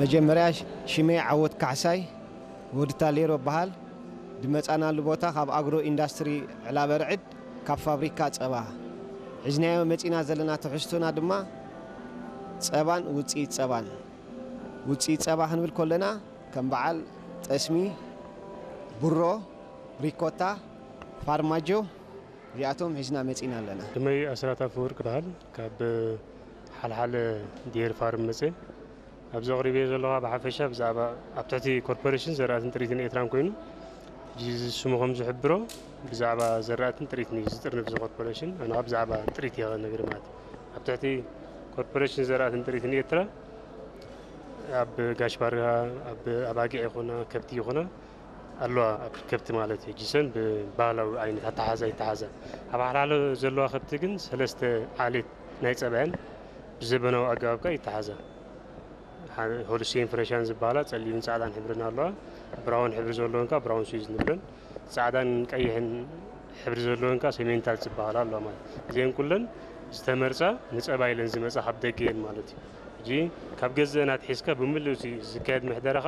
መጀመርያ ሽመይ ዓወት ካሕሳይ ወዲ ታሌሮ በሃል። ድመጻናሉ ቦታ ካብ ኣግሮ ኢንዳስትሪ ዕላበርዕድ፣ ካብ ፋብሪካ ጸባ ሒዝናዮ መጺና ዘለና። ትሕዝቶና ድማ ጸባን ውጽኢት ጸባን። ውጽኢት ጸባ ክንብል ከለና ከም በዓል ጠስሚ፣ ቡሮ፣ ሪኮታ፣ ፋርማጆ፣ እዚኣቶም ሒዝና መጺና ኣለና። ሽመይ ኣስራት ኣፈወርቅ ይበሃል። ካብ ሓልሓለ ዲየር ፋርም መጽእ። ኣብዚ ኣቕሪበዮ ዘለኹ ብሓፈሻ ብዛዕባ ኣብ ትሕቲ ኮርፖሬሽን ዘራእትን ጥሪትን ኤርትራን ኮይኑ፣ ሕጂ እዚ ስሙ ከም ዝሕብሮ ብዛዕባ ዘራእትን ጥሪትን እዩ ዝጥርንፍ እዚ ኮርፖሬሽን። ኣነ ብዛዕባ ጥሪት እየ ክነግር ማለት እዩ። ኣብ ትሕቲ ኮርፖሬሽን ዘራእትን ጥሪትን ኤርትራ ኣብ ጋሽ ባርጋ፣ ኣብ ኣባጊዕ ይኹና ከብቲ ይኹና ኣለዋ፣ ኣብ ከብቲ ማለት እዩ። ጅሰን ብባህላዊ ዓይነት ኣተሓዛ ይተሓዛ። ኣብ ሓልሓለ ዘለዋ ከብቲ ግን ሰለስተ ዓሌት ናይ ጸባየን ብዘበናዊ ኣገባብ ከኣ ይተሓዛ። ሆልስቴን ፍረሻን ዝበሃላ ጸሊምን ጻዕዳን ሕብርን ኣለዋ። ብራውን ሕብሪ ዘለወን ከኣ ብራውን ስዊዝ ንብለን፣ ጻዕዳን ቀይሕን ሕብሪ ዘለወን ከኣ ሰሜንታል ዝበሃላ ኣለዋ ማለት እዩ። እዚአን ኩለን ዝተመርጻ ንጸባ ኢለን ዝመጻ ካብ ደገ እየን ማለት እዩ። ሕጂ ካብ ገዘእን ኣትሒዝካ ብምልኡ እቲ ዝካየድ ምሕደራ ከኣ